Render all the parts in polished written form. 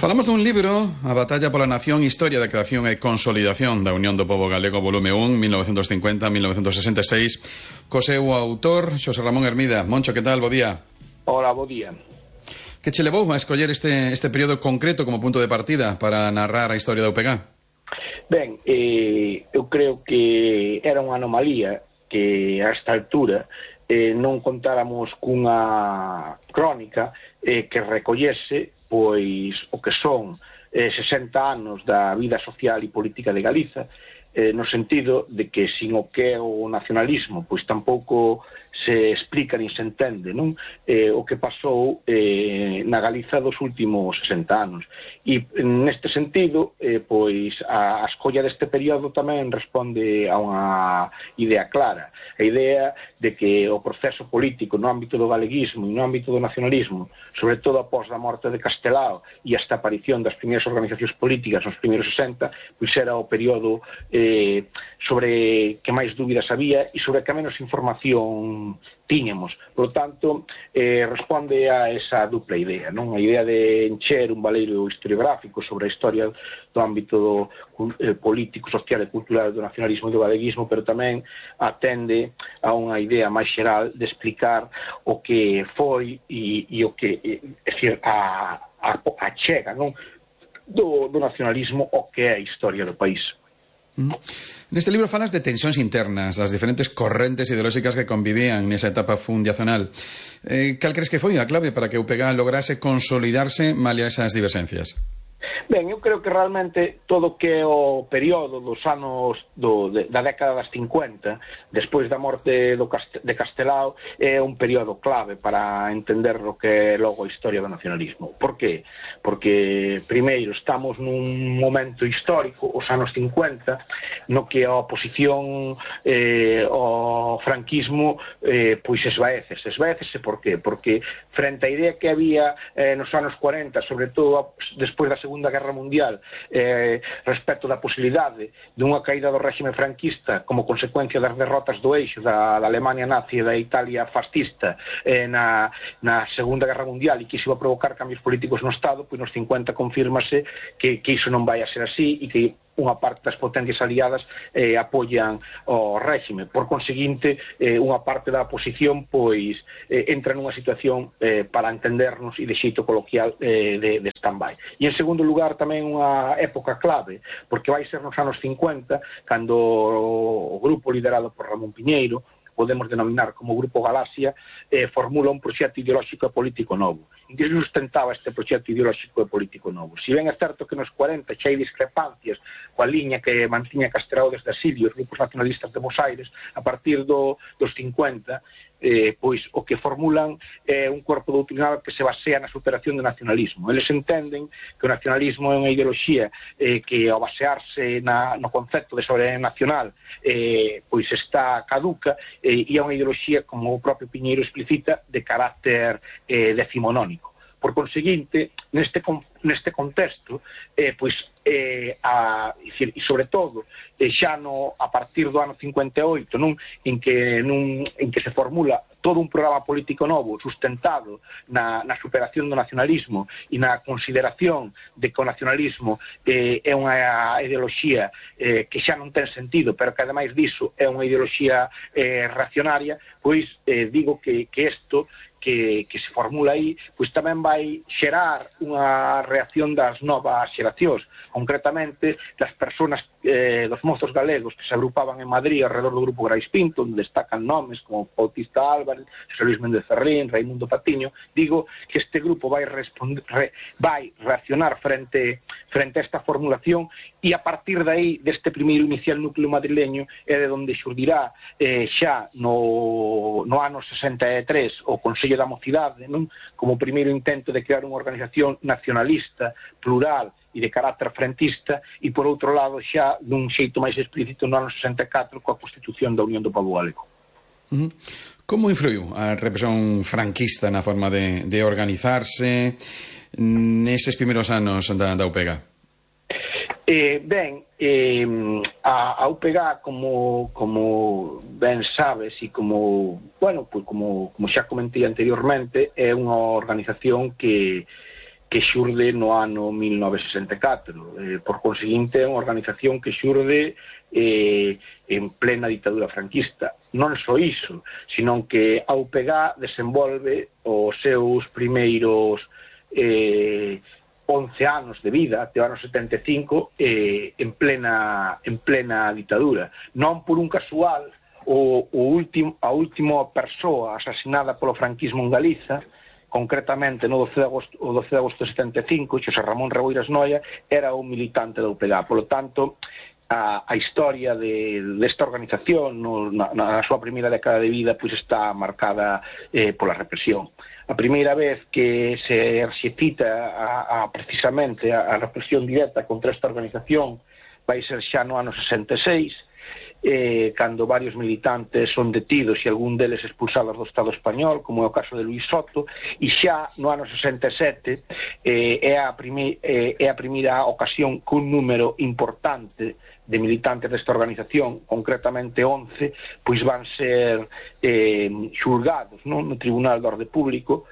Falamos dun libro, A batalla pola nación, historia da creación e consolidación da Unión do Pobo Galego, volume 1, 1950-1966, co seu autor, Xosé Ramón Hermida. Moncho, que tal? Bo día. Hola, bo día. Que che levou a escoller este período concreto como punto de partida para narrar a historia da UPG? Ben, eu creo que era unha anomalía que a esta altura non contáramos cunha crónica que recollese pois o que son 60 anos da vida social e política de Galiza, no sentido de que sin o que é o nacionalismo pois tampouco se explica nin se entende, non? O que pasou na Galiza dos últimos 60 anos. E neste sentido, pois a escolla deste período tamén responde a unha idea clara, a idea de que o proceso político no ámbito do galeguismo e no ámbito do nacionalismo, sobre todo após a morte de Castelao e hasta a aparición das primeiras organizacións políticas nos primeiros 60, pois era o período sobre que máis dúbidas había e sobre que menos información tiñamos. Por lo tanto, responde a esa dupla idea, non? A idea de encher un valeiro historiográfico sobre a historia do ámbito político, social e cultural do nacionalismo e do galeguismo, pero tamén atende a unha idea máis xeral de explicar o que foi e o que, é dicir, a chega, non? Do nacionalismo o que é a historia do país. Neste libro falas de tensións internas, das diferentes correntes ideolóxicas que convivían nesa etapa fundacional. Cal crees que foi a clave para que a UPG lograse consolidarse malia esas diverxencias? Ben, eu creo que realmente todo o que é o período dos anos da década das 50, despois da morte de Castelao, é un período clave para entender o que é logo a historia do nacionalismo. Por qué? Porque, primeiro, estamos nun momento histórico, os anos 50, no que a oposición ao franquismo pois esvaécese. Por qué? Porque frente á idea que había nos anos 40, sobre todo despois da Segunda Guerra Mundial, respecto da posibilidade dunha caída do réxime franquista como consecuencia das derrotas do eixo da Alemania nazi e da Italia fascista na Segunda Guerra Mundial e que iso iba a provocar cambios políticos no Estado, pois nos 50 confírmase que iso non vai a ser así e que unha parte das potencias aliadas apoian o réxime. Por conseguinte, unha parte da oposición pois entra nunha situación para entendernos e de xeito coloquial de stand-by. E en segundo lugar tamén unha época clave, porque vai ser nos anos 50 cando o grupo liderado por Ramón Piñeiro, podemos denominar como Grupo Galaxia, formula un proxecto ideolóxico e político novo. En que se sustentaba este proxecto ideolóxico e político novo? Si ben é certo que nos 40 xa hai discrepancias coa liña que mantiña Castelao desde Asilio, os grupos nacionalistas de Bos Aires, a partir dos 50, pois o que formulan é un corpo doutrinal que se basea na superación do nacionalismo. Eles entenden que o nacionalismo é unha ideoloxía que ao basearse no concepto de soberanía nacional pois está caduca e é unha ideoloxía, como o propio Piñeiro explicita, de carácter decimonónico. Por conseguinte, neste contexto, pois, e sobre todo, xa a partir do ano 58, non? En que se formula todo un programa político novo sustentado na superación do nacionalismo e na consideración de que o nacionalismo é unha ideoloxía que xa non ten sentido, pero que ademais diso é unha ideoloxía reaccionaria, pois digo que isto que se formula aí, pois tamén vai xerar unha reacción das novas xeracións, concretamente das persoas, dos mozos galegos que se agrupaban en Madrid alrededor do Grupo Grais Pinto, onde destacan nomes como Bautista Álvarez, José Luis Méndez Ferrín, Raimundo Patiño. Digo que este grupo vai reaccionar frente a esta formulación e a partir de aí, deste primeiro inicial núcleo madrileño, é de onde xurdirá xa no ano 63 o Consello da Mocidade, non? Como primeiro intento de crear unha organización nacionalista, plural e de carácter frentista, e por outro lado xa dun xeito máis explícito no ano 64 coa Constitución da Unión do Pobo Galego. Como influiu a represión franquista na forma de organizarse neses primeiros anos da UPG? A UPG, como ben sabes e como xa comentei anteriormente, é unha organización que que xurde no ano 1964. Por conseguinte, é unha organización que xurde en plena ditadura franquista. Non só iso, senón que a UPG desenvolve os seus primeiros 11 anos de vida, até o ano 75, en plena ditadura. Non por un casual, a última persoa asasinada polo franquismo en Galiza, concretamente no 12 de agosto de 75, Xosé Ramón Reboiras Noia, era un militante da UPG. Polo tanto, a historia desta organización na súa primeira década de vida pois está marcada pola represión. A primeira vez que se cita precisamente a represión directa contra esta organización vai ser xa no ano 66, cando varios militantes son detidos e algún deles expulsados do Estado español, como é o caso de Luís Soto, e xa no ano 67 é a primeira ocasión que un número importante de militantes desta organización, concretamente 11, pois van ser xulgados no Tribunal de Orde Público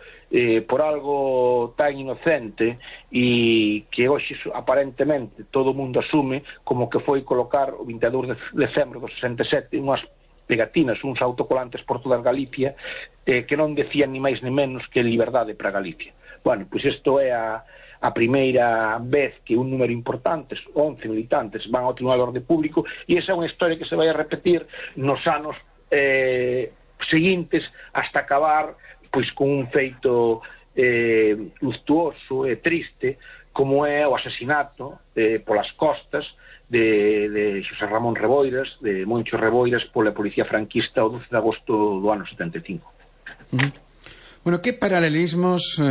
por algo tan inocente e que hoxe aparentemente todo o mundo asume como que foi colocar o 22 de decembro do 67 unhas pegatinas, uns autocolantes por toda Galicia que non decían ni máis ni menos que liberdade para Galicia. Bueno, pois isto é a primeira vez que un número importante, 11 militantes, van ao Tribunal de Orde Público, e esa é unha historia que se vai a repetir nos anos seguintes hasta acabar pois con un feito luctuoso e triste como é o asesinato polas costas de Xosé Ramón Reboiras, de Moncho Reboiras, pola policía franquista o 12 de agosto do ano 75. Bueno, que paralelismos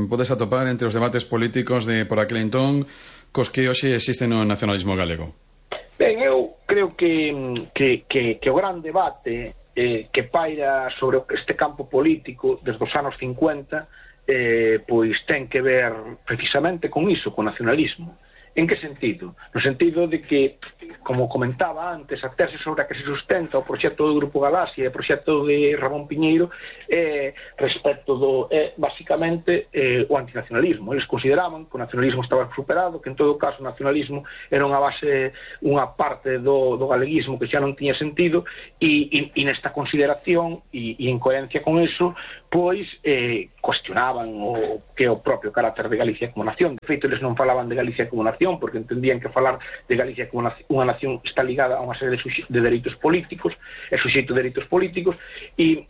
podes atopar entre os debates políticos de por aquel entón cos que hoxe existen no nacionalismo galego? Ben, eu creo que o gran debate que paira sobre este campo político desde os anos 50 pois ten que ver precisamente con iso, con nacionalismo. En que sentido? No sentido de que, como comentaba antes, a tese sobre a que se sustenta o proxecto do Grupo Galaxia e o proxecto de Ramón Piñeiro respecto basicamente o antinacionalismo. Eles consideraban que o nacionalismo estaba superado, que en todo caso o nacionalismo era unha parte do galeguismo que xa non tiña sentido e nesta consideración e en coherencia con iso pois cuestionaban o que é o propio carácter de Galicia como nación. De feito, eles non falaban de Galicia como nación porque entendían que falar de Galicia como unha nación está ligada a unha serie de dereitos políticos, é suxeito de dereitos políticos e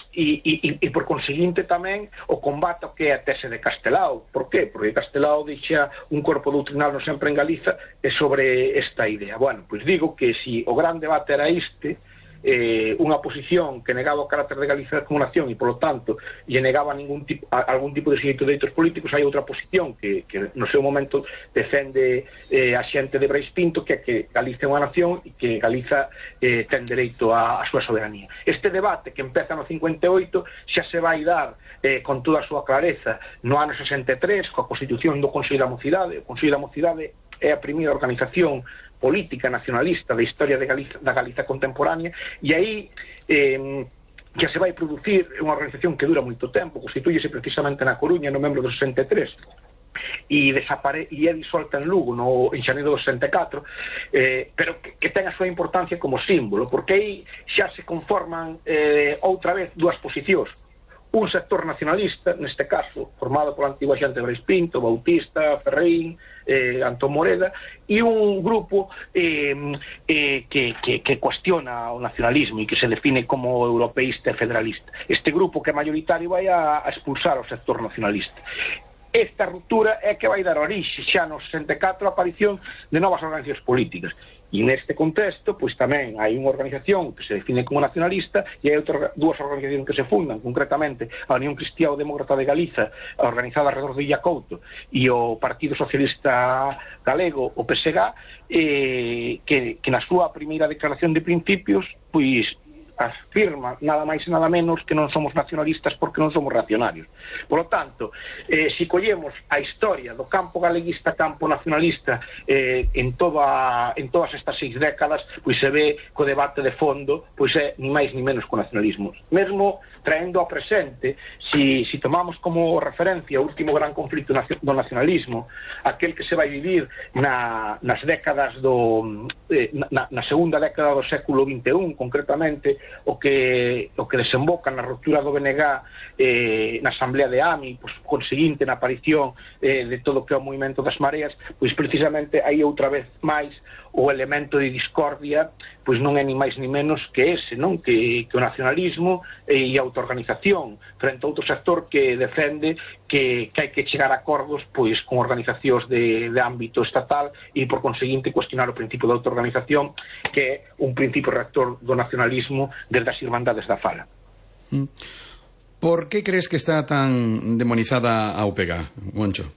por conseguinte tamén o combate ao que é a tese de Castelao. Por qué? Porque Castelao deixa un corpo doutrinal non sempre en Galiza sobre esta idea. Bueno, pois digo que si o gran debate era unha posición que negaba o carácter de Galicia como nación e, polo tanto, lle negaba algún tipo de suxeito de dereitos políticos, hai outra posición que no seu momento defende a xente de Brais Pinto, que é que Galicia é unha nación e que Galiza ten dereito á súa soberanía. Este debate que empeza no 58 xa se vai dar con toda a súa clareza no ano 63 coa constitución do Consello da Mocidade. O Consello da Mocidade é a primeira organización política nacionalista da historia da Galiza contemporánea e aí que se vai producir unha organización que dura moito tempo, constitúyese precisamente na Coruña no membro do 63 e é disolta en Lugo en xaneiro do 64, pero que ten a súa importancia como símbolo, porque aí xa se conforman outra vez dúas posicións. Un sector nacionalista, neste caso, formado pola antigua xente Brais Pinto, Bautista, Ferreín, Antón Moreda, e un grupo que cuestiona o nacionalismo e que se define como europeísta e federalista. Este grupo que é mayoritario vai a expulsar o sector nacionalista. Esta ruptura é que vai dar orixe xa no 64 a aparición de novas organizacións políticas. E neste contexto, pois tamén hai unha organización que se define como nacionalista e hai dúas organizacións que se fundan, concretamente a Unión Cristiá Demócrata de Galiza, organizada alrededor de Illa Couto, e o Partido Socialista Galego, o PSG, que na súa primeira declaración de principios, pois afirma nada máis e nada menos que non somos nacionalistas porque non somos reaccionarios. Por lo tanto, se collemos a historia do campo galeguista, campo nacionalista en todas estas 6 décadas, pois se ve que o debate de fondo pois é ni máis ni menos co nacionalismo. Mesmo traendo ao presente, si tomamos como referencia o último gran conflito do nacionalismo, aquel que se vai vivir nas décadas na segunda década do século XXI, concretamente o que desemboca na ruptura do BNG na Asamblea de AMI, pois, conseguinte na aparición de todo o que é o movimento das mareas, pois precisamente aí outra vez máis o elemento de discordia pois non é ni máis ni menos que ese, non? Que o nacionalismo e a autoorganización frente a outro sector que defende que hai que chegar a acordos pois con organizacións de ámbito estatal e por conseguinte cuestionar o principio de autoorganización, que é un principio rector do nacionalismo desde as Irmandades da Fala. Por que crees que está tan demonizada a UPG, Moncho?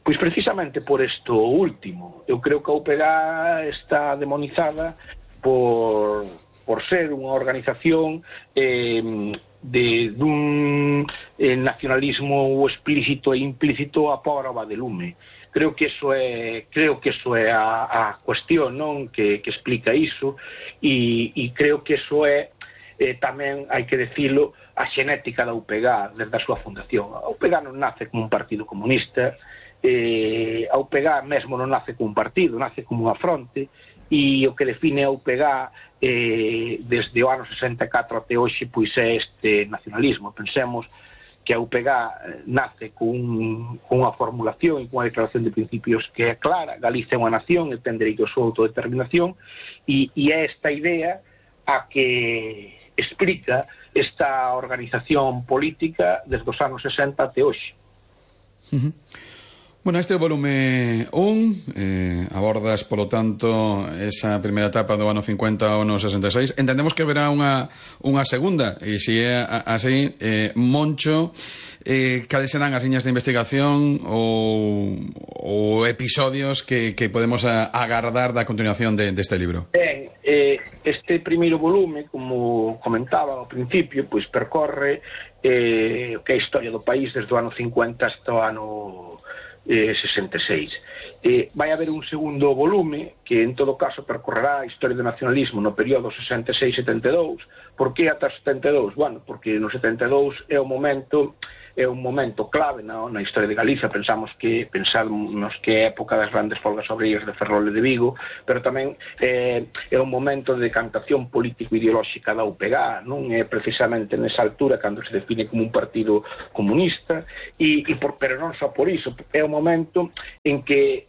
Pois precisamente por isto último. Eu creo que a UPG está demonizada por ser unha organización dun nacionalismo explícito e implícito a prova de lume. Creo que eso é a cuestión, non, que explica iso, e creo que eso é tamén, hai que decilo, a xenética da UPG desde a súa fundación. A UPG non nace como un partido comunista, a UPG mesmo non nace como un partido, nace como unha fronte, e o que define a UPG desde o ano 64 até hoxe pois é este nacionalismo. Pensemos que a UPG nace con unha formulación e con unha declaración de principios que é clara: Galicia é unha nación e ten dereito a súa autodeterminación, e é esta idea a que explica esta organización política desde os anos 60 até hoxe. Bueno, este é o volume 1, abordas, polo tanto, esa primeira etapa do ano 50 ao ano 66. Entendemos que haberá unha segunda, e se é así, Moncho, cales serán as liñas de investigación ou episodios que podemos agardar da continuación deste libro? Ben, este primeiro volume, como comentaba ao principio, pois percorre o que é a historia do país desde o ano 50 hasta o ano 66. Vai haber un segundo volume que en todo caso percorrerá a historia do nacionalismo no período 66-72. Por que ata 72? Bueno, porque no 72 é un momento clave na historia de Galicia. Pensamos que é época das grandes folgas obreiras de Ferrol e de Vigo, pero tamén é un momento de decantación político-ideolóxica da UPG, non é precisamente nesa altura cando se define como un partido comunista, pero non só por iso, é un momento en que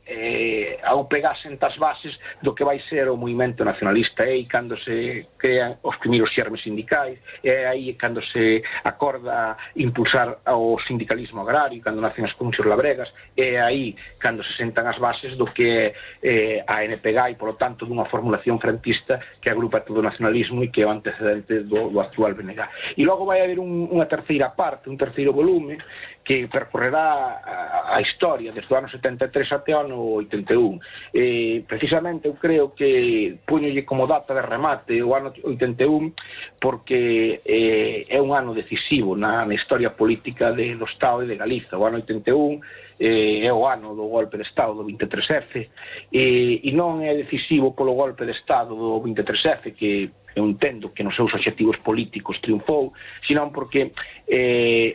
a UPG senta as bases do que vai ser o movimento nacionalista, e cando se crean os primeiros xermes sindicais, é aí cando se acorda impulsar o sindicalismo agrario, cando nacen as comisións labregas, é aí cando se sentan as bases do que é a NPG e, polo tanto, dunha formulación frentista que agrupa todo o nacionalismo e que é o antecedente do actual BNG. E logo vai haber unha terceira parte, un terceiro volume, que percorrerá a historia desde o ano 73 até o ano 81. Precisamente eu creo que puñolle como data de remate o ano 81 porque é un ano decisivo na historia política do Estado e de Galiza. O ano 81 é o ano do golpe de Estado do 23F, e non é decisivo polo golpe de Estado do 23F, que eu entendo que nos seus obxectivos políticos triunfou, senón porque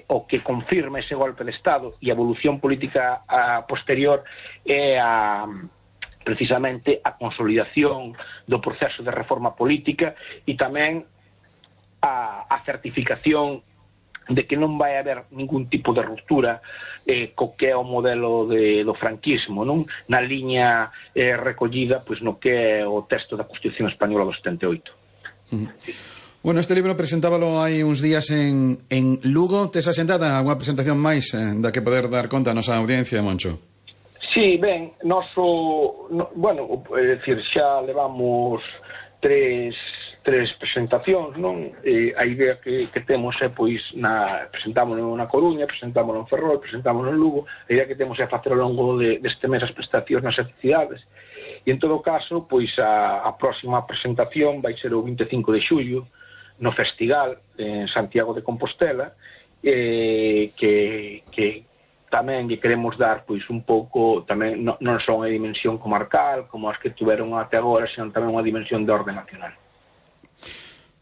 o que confirma ese golpe de Estado e a evolución política posterior é precisamente a consolidación do proceso de reforma política e tamén a certificación de que non vai haber ningún tipo de ruptura co que é o modelo do franquismo, non? Na liña recollida pois no que é o texto da Constitución Española do 78. Bueno, este libro presentábalo hai uns días en Lugo. Tes asentada unha presentación máis da que poder dar conta a nosa audiencia, Moncho? Sí, ben, é dicir, xa levamos tres presentacións, non? A idea que temos é, pois, presentámonos na Coruña, presentámonos en Ferrol, presentámonos en Lugo. A idea que temos é facer ao longo deste mes as prestacións nas cidades. E en todo caso, pois a próxima presentación vai ser o 25 de xullo no Festival en Santiago de Compostela, que tamén lle queremos dar pois un pouco, tamén non só unha dimensión comarcal como as que tuveron até agora, senón tamén unha dimensión de orde nacional.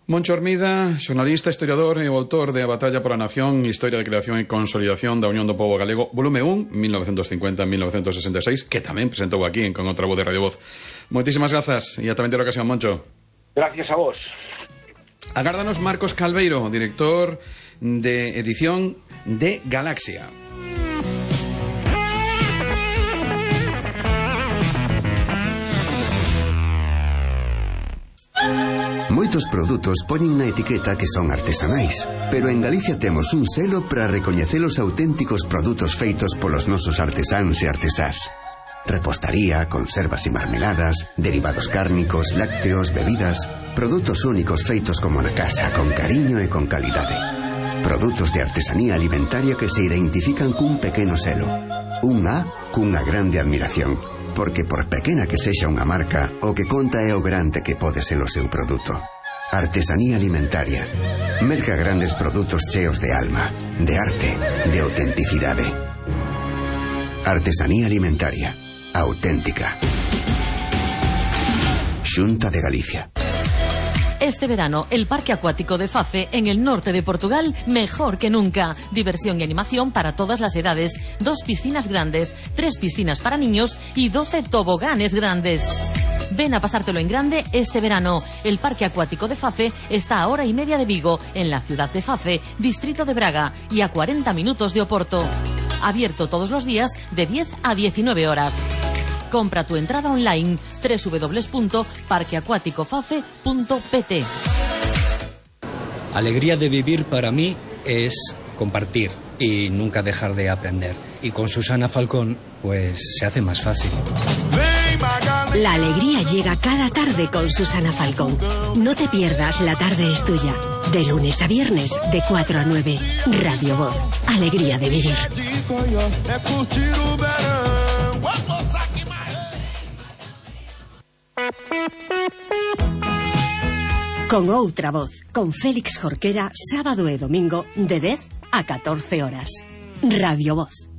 Moncho Hermida, xornalista, historiador e o autor de A batalla pola nación, Historia de creación e consolidación da Unión do Pobo Galego, volume 1, 1950-1966, que tamén presentou aquí en Con outra voz de Radio Voz. Moitísimas grazas e ata a vindeira ocasión, Moncho. Gracias a vos. Agárdanos Marcos Calveiro, director de edición de Galaxia. Moitos produtos poñen na etiqueta que son artesanais, pero en Galicia temos un selo para recoñecer os auténticos produtos feitos polos nosos artesáns e artesás. Repostaría, conservas e marmeladas, derivados cárnicos, lácteos, bebidas, produtos únicos feitos como na casa, con cariño e con calidade. Produtos de artesanía alimentaria que se identifican cun pequeno selo. Un A cunha grande admiración. Porque por pequena que sexa unha marca, o que conta é o grande que pode ser o seu produto. Artesanía alimentaria. Merca grandes produtos cheos de alma, de arte, de autenticidade. Artesanía alimentaria. Auténtica. Xunta de Galicia. Este verano, el Parque Acuático de Fafe, en el norte de Portugal, mejor que nunca. Diversión y animación para todas las edades. 2 piscinas grandes, 3 piscinas para niños y 12 toboganes grandes. Ven a pasártelo en grande este verano. El Parque Acuático de Fafe está a 1:30 de Vigo, en la ciudad de Fafe, distrito de Braga, y a 40 minutos de Oporto. Abierto todos los días de 10 a 19 horas. Compra tu entrada online www.parqueacuaticofafe.pt. Alegría de vivir para mí es compartir y nunca dejar de aprender. Y con Susana Falcón, pues se hace más fácil. La alegría llega cada tarde con Susana Falcón. No te pierdas La tarde es tuya. De lunes a viernes, de 4 a 9. Radio Voz. Alegría de vivir. Con outra voz, con Félix Jorquera, sábado e domingo, de 10 a 14 horas. Radio Voz.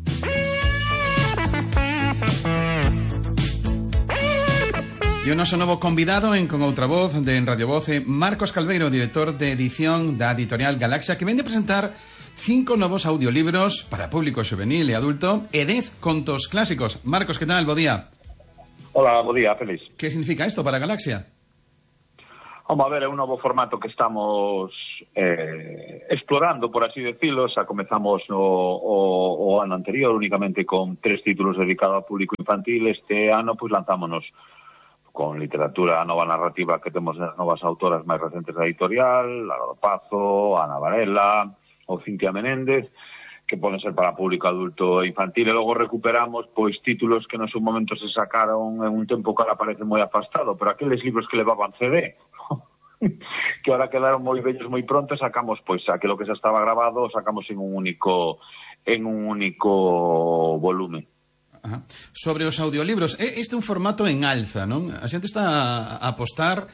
E o noso novo convidado en Con outra voz de en Radio Voz é Marcos Calveiro, director de edición da editorial Galaxia, que vende a presentar 5 novos audiolibros para público juvenil e adulto e 10 contos clásicos. Marcos, que tal? Bo día. Hola, bo día, Félix. Que significa isto para Galaxia? Vamos a ver, é un novo formato que estamos explorando, por así decirlo. Xa comezamos o ano anterior únicamente con 3 títulos dedicados ao público infantil. Este ano, pois, lanzámonos con literatura nova narrativa que temos as novas autoras máis recentes da editorial, Lara do Pazo, Ana Varela ou Cintia Menéndez, que poden ser para público adulto e infantil, e logo recuperamos pois títulos que no seu momento se sacaron en un tempo que ahora parece moi afastado, pero aqueles libros que levaban CD, que ahora quedaron moi vellos moi pronto, sacamos pois aquilo que xa estaba grabado, sacamos en un único volumen. Ajá. Sobre os audiolibros, este é un formato en alza, non? A xente está a apostar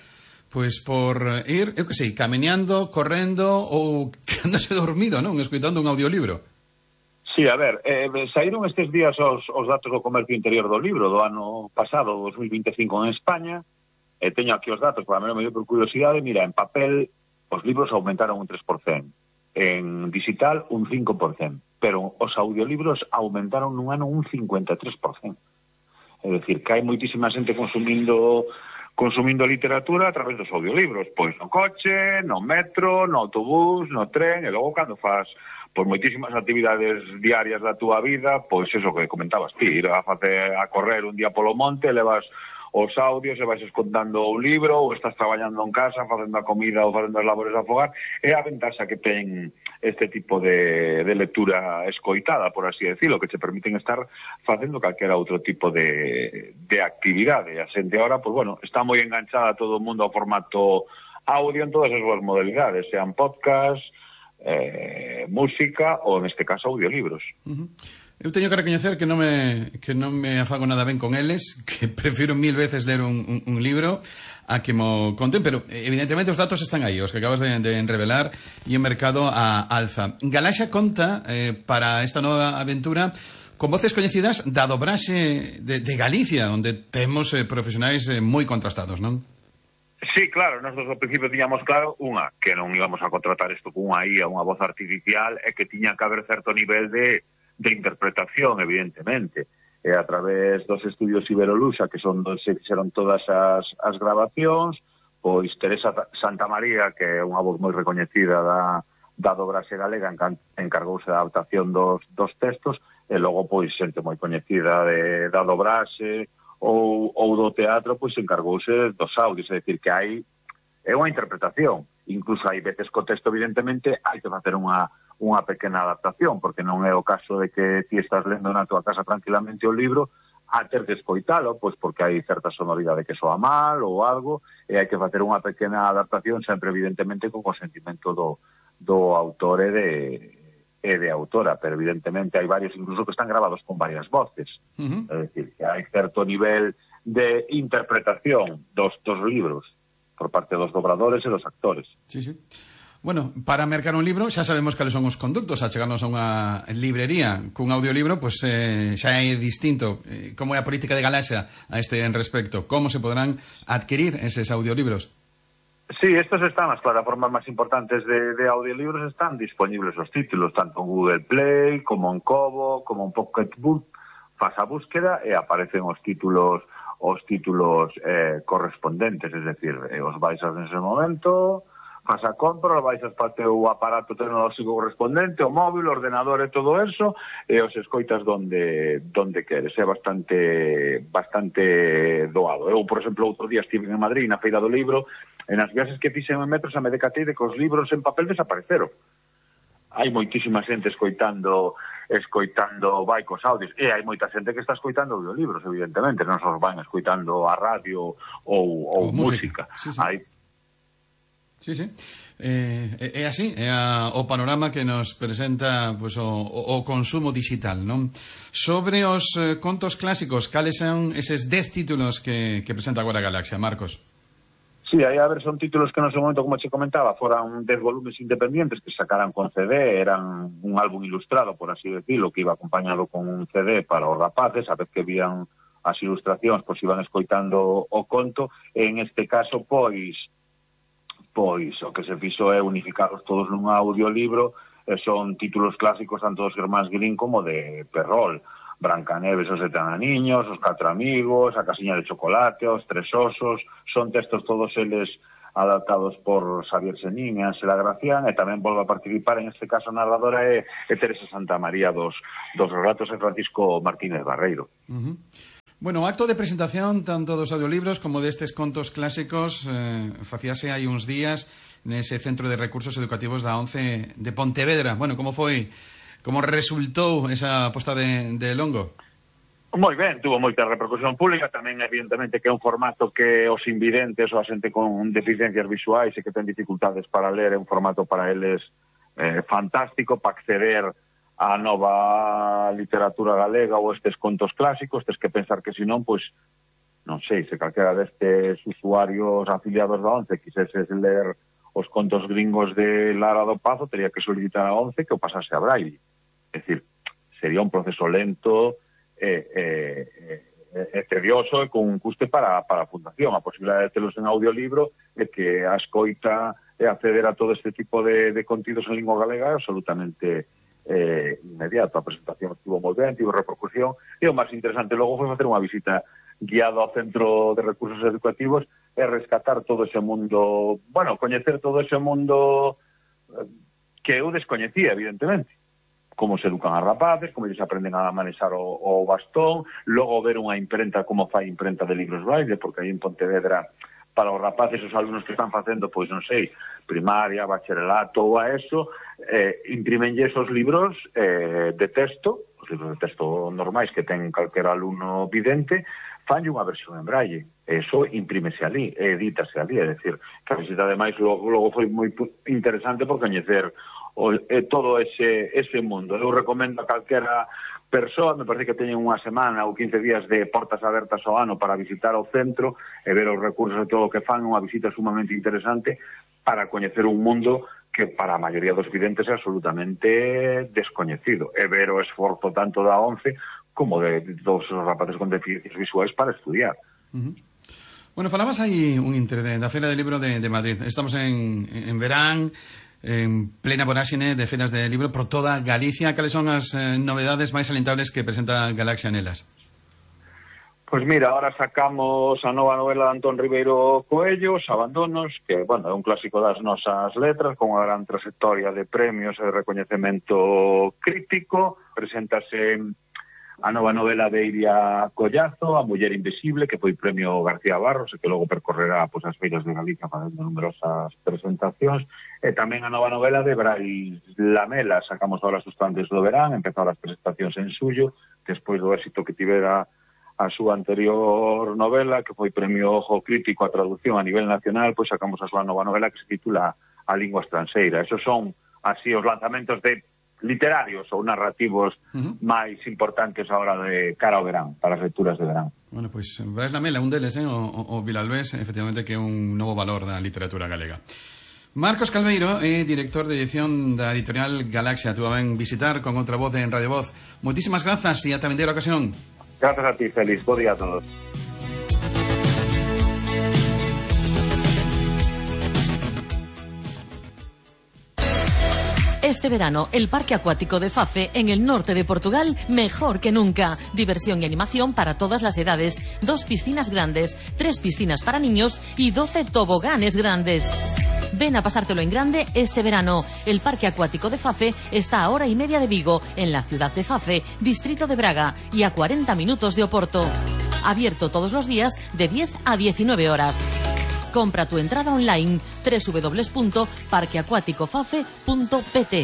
pois por ir, eu que sei, camiñando, correndo ou quedándose dormido, non? Escoitando un audiolibro. Sí, a ver, saíron estes días os datos do comercio interior do libro do ano pasado, 2025 en España. Teño aquí os datos, para mí me dio por curiosidade. Mira, en papel os libros aumentaron un 3%, en digital un 5%, pero os audiolibros aumentaron nun ano un 53%. É dicir, que hai moitísima xente consumindo literatura a través dos audiolibros, pois no coche, no metro, no autobús, no tren, e logo cando faz pois moitísimas actividades diarias da túa vida, pois eso que comentabas ti, ir a correr un día polo monte, levas os audios e vais escontando un libro, ou estás traballando en casa, facendo a comida ou facendo as labores a fogar. É a ventaxa que ten este tipo de lectura escoitada, por así decirlo, que te permiten estar facendo calquera outro tipo de actividade. A xente ahora, pues bueno, está moi enganchada todo o mundo ao formato audio en todas as súas modalidades, sean podcast, música ou, neste caso, audiolibros. Eu teño que recoñecer que non me afago nada ben con eles, que prefiro 1000 veces ler un libro a que mo conten, pero evidentemente os datos están aí, os que acabas de revelar, e o mercado a alza. Galaxia conta para esta nova aventura con voces coñecidas da dobraxe de Galicia, onde temos profesionais moi contrastados, non? Sí, claro, nosotros ao principio tiñamos claro que non íbamos a contratar isto con unha IA, unha voz artificial, e que tiña que haber certo nivel de interpretación, evidentemente. E a través dos estudios Iberoluxa, que son onde se fixeron todas as grabacións, pois Teresa Santamaría, que é unha voz moi recoñecida da dobraxe galega, encargouse da adaptación dos textos, e logo, pois, xente moi coñecida da dobraxe ou do teatro, pois, encargouse dos audios, é dicir, que é unha interpretación. Incluso hai veces co texto, evidentemente, hai que facer unha pequena adaptación, porque non é o caso de que ti estás lendo na tua casa tranquilamente o libro a ter que escoitalo, pois porque hai certa sonoridade que soa mal ou algo, e hai que facer unha pequena adaptación, sempre evidentemente con consentimento do autor e de autora, pero evidentemente hai varios incluso que están grabados con varias voces. É dicir, que hai certo nivel de interpretación dos libros por parte dos dobradores e dos actores. Sí, sí. Bueno, para mercar un libro xa sabemos cales son os conductos a chegarnos a unha librería. Cun audiolibro, pois xa é distinto. Como é a política de Galaxia a este en respecto? Como se podrán adquirir eses audiolibros? Sí, estos están, as plataformas máis importantes de audiolibros están disponibles os títulos, tanto en Google Play, como en Kobo, como en Pocketbook. Faz a búsqueda e aparecen os títulos correspondentes, es decir, os baixas nese momento, faz a compra, baixas para o teu aparato tecnolóxico correspondente, o móvil, o ordenador e todo eso, e os escoitas donde queres. É bastante doado. Eu, por exemplo, outro día estive en Madrid, na Feira do Libro, e nas viaxes que fixen en metros a me decatei de que os libros en papel desapareceron. Hai moitísima xente escoitando baicos audios, e hai moita xente que está escoitando audiolibros, evidentemente, non só van escoitando a radio ou música. Sí, sí. Sí, sí. É así, é o panorama que nos presenta pues, o consumo digital, non? Sobre os contos clásicos, cales son eses 10 títulos que presenta agora Galaxia, Marcos? Sí, aí a ver, son títulos que no seu momento, como che comentaba, foran 10 volumes independientes que sacaran con CD, eran un álbum ilustrado, por así decirlo, que iba acompañado con un CD para os rapaces, a vez que vían as ilustracións, pois iban escoitando o conto, e en este caso, pois o que se fixo é unificados todos nun audiolibro, e son títulos clásicos tanto dos Germáns Grimm como de Perrol. Brancaneves, os 7 ananiños, os 4 amigos, a casiña de chocolate, os 3 osos, son textos todos eles adaptados por Xavier Senín e Ángela Gracián, e tamén volve a participar, en este caso narradora é Teresa Santamaría dos relatos de Francisco Martínez Barreiro. Bueno, o acto de presentación tanto dos audiolibros como destes contos clásicos facíase hai uns días nese Centro de Recursos Educativos da ONCE de Pontevedra. Bueno, como foi? Como resultou esa posta de longo? Moi ben, tuvo moita repercusión pública, tamén evidentemente que é un formato que os invidentes ou a xente con deficiencias visuais e que ten dificultades para ler, é un formato para eles fantástico para acceder a nova literatura galega ou estes contos clásicos. Tes que pensar que senón, pois, non sei, se calquera destes usuarios afiliados da ONCE quiseses ler os contos gringos de Lara do Pazo, teria que solicitar a ONCE que o pasase a Braille. É dicir, sería un proceso lento e tedioso e con un custe para a Fundación. A posibilidade de telos en audiolibro e que a escoita e acceder a todo este tipo de contidos en lingua galega é absolutamente inmediato. A presentación estuvo moi ben, tivo repercusión, e o máis interesante logo foi facer unha visita guiado ao Centro de Recursos Educativos e rescatar todo ese mundo, bueno, coñecer todo ese mundo que eu descoñecía, evidentemente. Como se educan as rapaces, como eles aprenden a manexar o bastón, logo ver unha imprenta, como fai imprenta de libros Braille, porque aí en Pontevedra, para os rapaces, os alumnos que están facendo, pois non sei, primaria, bacharelato ou a eso, imprimenlle esos libros de texto, os libros de texto normais que ten calquer alumno vidente, fanlle unha versión en Braille. Eso imprímese ali, edítase ali, é dicir, que a visita ademais logo foi moi interesante por coñecer todo ese mundo. Eu recomendo a calquera persoas, me parece que teñen unha semana ou 15 días de portas abertas ao ano para visitar o centro e ver os recursos e todo o que fan, unha visita sumamente interesante para coñecer un mundo que para a maioría dos videntes é absolutamente descoñecido, e ver o esforzo tanto da ONCE como de todos os rapaces con deficiencias visuais para estudiar. Bueno, falabas aí un intre da Feira del Libro de Madrid. Estamos en verán, en plena voráxine de feiras de libro por toda Galicia. Cales son as novedades máis alentables que presenta Galaxia nelas? Pois mira, ahora sacamos a nova novela de Antón Ribeiro Coello, Os Abandonos, que, bueno, é un clásico das nosas letras, con unha gran trayectoria de premios e de recoñecemento crítico. Preséntase a nova novela de Iria Collazo, A Muller Invisible, que foi premio García Barros e que logo percorrerá as feiras de Galicia facendo numerosas presentacións. E tamén a nova novela de Brais Lamela, sacamos ahora Sustantes do Verán, empezaron as presentacións en suyo, despois do éxito que tivera a súa anterior novela, que foi premio Ojo Crítico a traducción a nivel nacional, pois sacamos a súa nova novela que se titula A Lingua Estranxeira. Esos son así os lanzamentos de literarios ou narrativos máis importantes ahora de cara ao verán, para as lecturas de verán. Bueno, pois Brais Lamela, un deles, o Vilalbés, efectivamente que é un novo valor da literatura galega. Marcos Calveiro é director de edición da editorial Galaxia. Tú a ven visitar con outra voz en Radio Voz. Moitísimas grazas e ata vindeira ocasión. Grazas a ti, Félix. Bo día a todos. Este verano, el parque acuático de Fafe, en el norte de Portugal, mejor que nunca. Diversión y animación para todas las edades. 2 piscinas grandes, 3 piscinas para niños y 12 toboganes grandes. Ven a pasártelo en grande este verano. El parque acuático de Fafe está a hora y media de Vigo, en la ciudad de Fafe, distrito de Braga, y a 40 minutos de Oporto. Abierto todos los días de 10 a 19 horas. Compra tu entrada online www.parqueacuaticofafe.pt.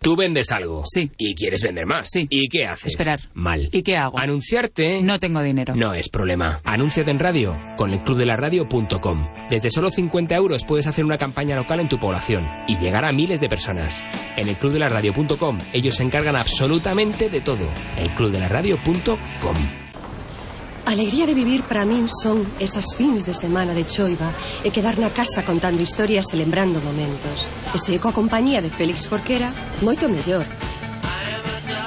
Tú vendes algo. Sí. Y quieres vender más. Sí. ¿Y qué haces? Esperar. Mal. ¿Y qué hago? Anunciarte. No tengo dinero. No es problema. Anúnciate en radio con elclubdelaradio.com. Desde solo 50 € puedes hacer una campaña local en tu población y llegar a miles de personas. En elclubdelaradio.com ellos se encargan absolutamente de todo. elclubdelaradio.com. Alegría de vivir para min son esas fins de semana de choiva e quedar na casa contando historias e lembrando momentos. E se coa compañía de Félix Jorquera, moito mellor.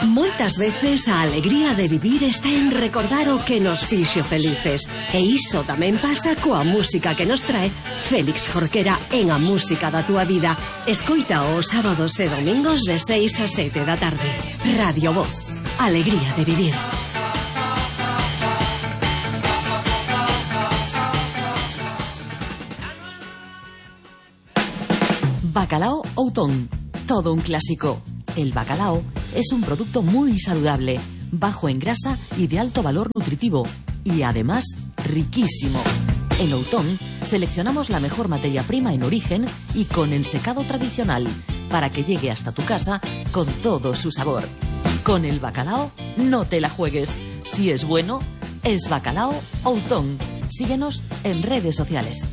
Moitas veces a alegría de vivir está en recordar o que nos fixo felices. E iso tamén pasa coa música que nos trae Félix Jorquera en A Música da Túa Vida. Escoita os sábados e domingos de 6 a 7 da tarde. Radio Voz. Alegría de vivir. Bacalao Outón, todo un clásico. El bacalao es un producto muy saludable, bajo en grasa y de alto valor nutritivo, y además riquísimo. En Outón seleccionamos la mejor materia prima en origen y con ensecado tradicional, para que llegue hasta tu casa con todo su sabor. Con el bacalao no te la juegues. Si es bueno, es Bacalao Outón. Síguenos en redes sociales.